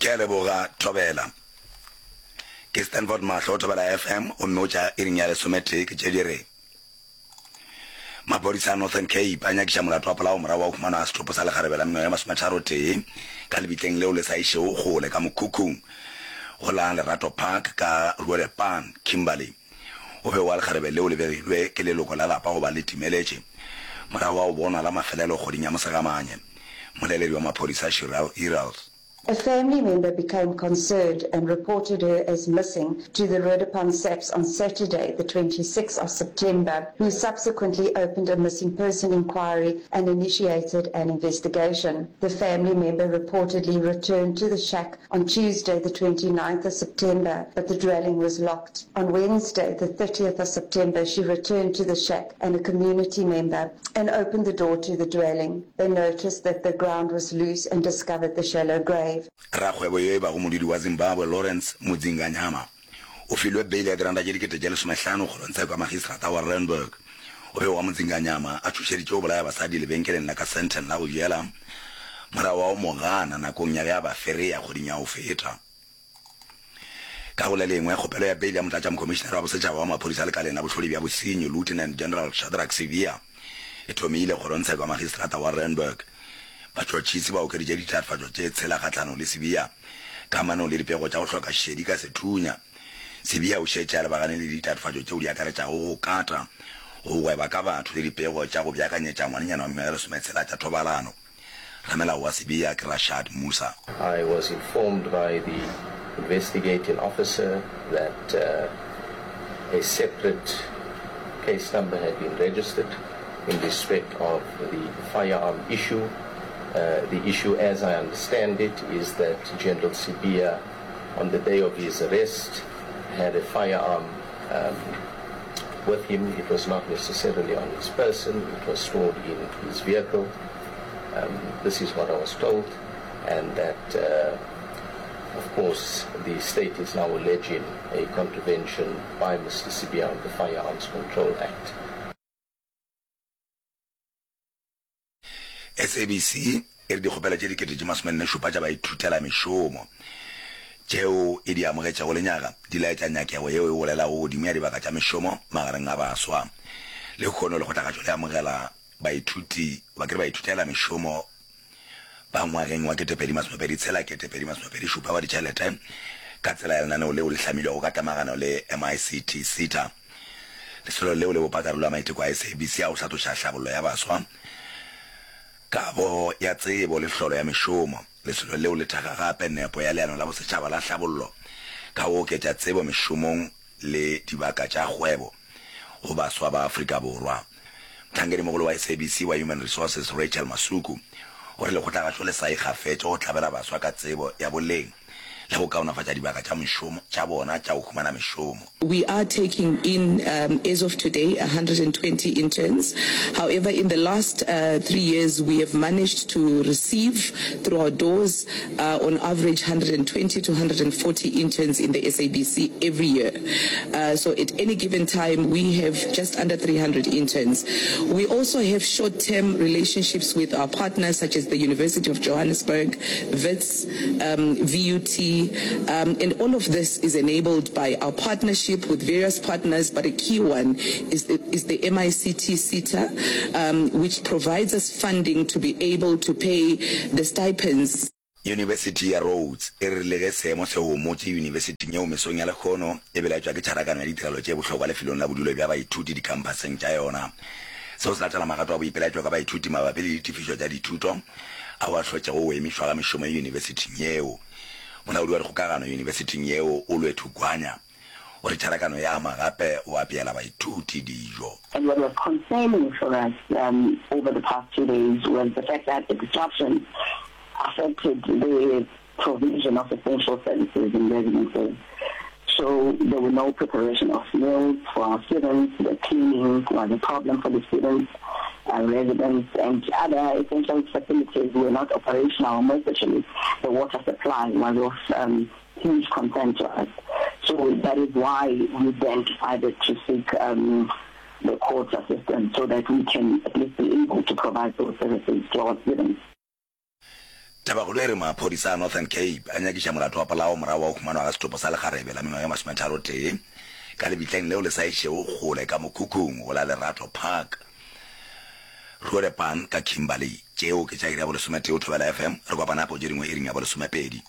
Ke a leboga, Thobela. Ke Stanford Mahlo, Thobela FM, gomme o tša iring ya lesometee ke tše di re. Maphodisa a Northern Cape a nyakiša molato wa polao morago wa go humanwa ga setopo sa lekgarebe la mengwaga ye masometharotee ka lebitleng leo le sa išego kgole ka mokhukhung go la Lerato Park ka Roodepan, Kimberley. O be wa lekgarebe leo le begilwe ke leloko la lapa goba le timeletše morago ga go bonwa la mafelelo kgweding ya Mosegamanye. Mmoleledi wa maphodisa Shirelle Earls. A family member became concerned and reported her as missing to the Roodepan SAPS on Saturday, the 26th of September, who subsequently opened a missing person inquiry and initiated an investigation. The family member reportedly returned to the shack on Tuesday, the 29th of September, but the dwelling was locked. On Wednesday, the 30th of September, she returned to the shack and a community member and opened the door to the dwelling. They noticed that the ground was loose and discovered the shallow grave. Rakgwebo yo e bago modudi wa Zimbabwe Lawrence Mudzinganyama o filwe beile ya diranta tše 1500 kgorongtsheko ya magistrata wa Randburg. O be wa Mudzinganyama a tšhošeditše go bolaya basadi lebenkeleng la ka Sandton la go jela morago wa go mo gana nakong ya ge a ba fereya kgweding ya go feta. Ka go le lengwe, kgopelo ya peile ya Motlatšamokhomišenare wa Bosetšhaba wa Maphodisa Lekaleng la Bohlodi bja Bosenyi, Lieutenant General Shadrack Sibiya, e thomile kgorongtsheko ya Magistrata wa Randburg. Batšhotšhisi ba okeditše ditatofatšo tše tshela kgahlanong le Sibiya kamanong le dipego tša go hloka šedi ka sethunya. Sibiya o šetše a lebagane le ditatofatšo tšeo di akaretšago go kata, go gweba ka batho le dipego tša go beakanyetša ngwanenyana wa mengwaga e lesometshela tša thobalano. Ramelao wa Sibiya ke Rashad Moosa. I was informed by the investigating officer that a separate case number had been registered in respect of the firearm issue. The issue, as I understand it, is that General Sibiya, on the day of his arrest, had a firearm um, with him. It was not necessarily on his person, it was stored in his vehicle. Um, this is what I was told, and that, uh, of course, the state is now alleging a contravention by Mr. Sibiya of the Firearms Control Act. SABC e re dikgopelo tše 47 tša baithutelamešomo tšeo e di amogetšego lenyaga di laetša nyakego yeo e golelago godimo ya dibaka tša mešomo magareng a baswa. Lehono lekgotlakgatšo le amogela baithuti goba ke re baithutelamešomo ba ngwageng wa 2026, 2027 wa ditšhelete ka tsela ya lenaneo leo le hlamilwego ka tlemagano le MICT SETA. Lesolo leo le bopa karolo ya maiteko a SABC a go hlatloša hlabollo ya baswa, kabo ya tsebo le hlolo ya mešomo. Lesolo leo le thekga gape nepo ya Leano la Bosetšhaba la Hlabollo ka go oketša tsebo mešomong le dibaka tša kgwebo go baswa ba Afrika Borwa. Mohlankedimogolo wa SABC wa Human Resources Rachel Masuku o re lekgotlagašo le sa ikgafetše go tlabela baswa ka tsebo ya boleng le go kaonafatša dibaka tša mešomo tša bona tša go humana mešomo. We are taking in as of today 120 interns. However, in the last three years we have managed to receive through our doors on average 120 to 140 interns in the SABC every year. So at any given time we have just under 300 interns. We also have short-term relationships with our partners such as the University of Johannesburg, Wits, um, VUT, um, and all of this is enabled by our partnership with various partners, but a key one is the, is the MICT SETA, um, which provides us funding to be able to pay the stipends. Yunibesithi ya Rhodes e re le ge seemo se homotše yunibesithing yeo mesong ya lehono e belaetšwa ke tšharakano ya ditirelo tše bohlokwa lefelong la bodulo bja baithuti dikhamphaseng tša yona. Seo se latela magato a boipelaetšo ka baithuti mabapi le ditefišo tša dithuto ao a hlotšego go emišwa ga mešomo yunibesithing yeo. Molaodi wa dikgokagano yunibesithing yeo, Olwethu Gwanya, o re tšharakano e ama gape go apeela baithuti dijo. And what was concerning for us um, over the past two days was the fact that the disruption affected the provision of essential services in residences. So there were no preparation of meals for our students, the cleaning was a problem for the students, uh, residents and other essential facilities were not operational, more especially the water supply was of um, huge concern to us. So that is why we then decided to seek um, the court's assistance so that we can at least be able to provide those services to our students. Tabakgolo e re maphodisa a Northern Cape a nyakiša molato wa polao morago wa go humanwa ga setopo sa lekgarebe la mengwaga e masometharotee ka lebitleng leo le sa išego kgole ka mokhukhung go la Lerato Park, Roodepan ka Kimberley. Tšeo ke tša iri ya bolesometee o Thobela FM. Re kopana gape go tše dingwe iring ya bolesomepedi.